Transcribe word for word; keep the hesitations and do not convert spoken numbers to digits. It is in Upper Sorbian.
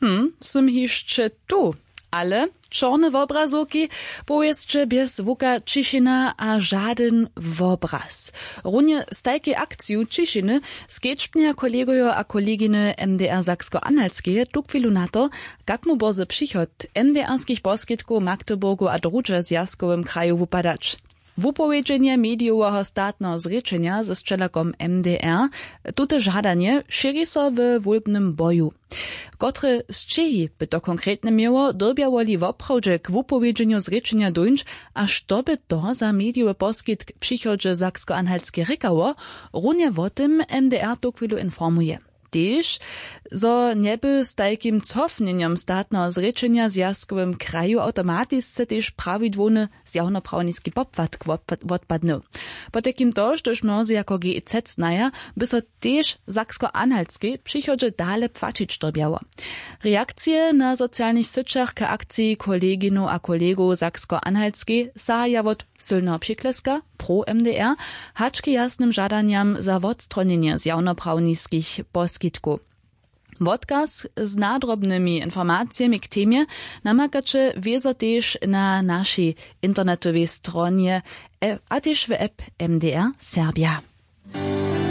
Hm, sym hišće tu. Ale čorne wobrazowki, powěsće bjez zwuka ćišina a žadyn wobraz. Runje z tajkej akciju ćišiny skedźbnja kolegojo a koleginy mdr saksko-anhaltskeje tuchwilu na to, kak mu bórze přichod mdrskich poskitkow w magdeburgu a druhdźe w zwjazkowym kraju wupadać. Wupowědźenje medijoweho statneho zrěčenja ze sćelakom mdr. Tute žadanje šěri so we wólbnym boju. Kotre sćěhi by to konkretnje měło, dyrbjałoli woprawdźe k wupowědźenju zrěčenja dóńć? A što by to za medijowy poskitk w přichodźe saksko-anhaltskeje rěkało? Runje wo tym mdr tuchwilu informuje. Tež zo njeby z tajkim cofnjenjom statneho zrěčenja w zwjazkowym kraju awtomatisce tež prawidłowny zjawnoprawniski popłatk wotpadnył. Potajkim to štož mnozy jako gez znaja, by so tež w saksko-anhaltskej w přichodźe dale płaćić dyrbjało. Reakcije na socialnych syćach k akciji koleginow a kolegow saksko-anhaltskej sahaja wot sylneho přikleska pro mdr hač k jasnym žadanjam za wotstronjenje zjawnoprawniskich poskitkow. Wotkaz z nadrobnymi informacijemi k temje namakaće wězo tež na našej internetowej stronje a tež w app mdr serbja.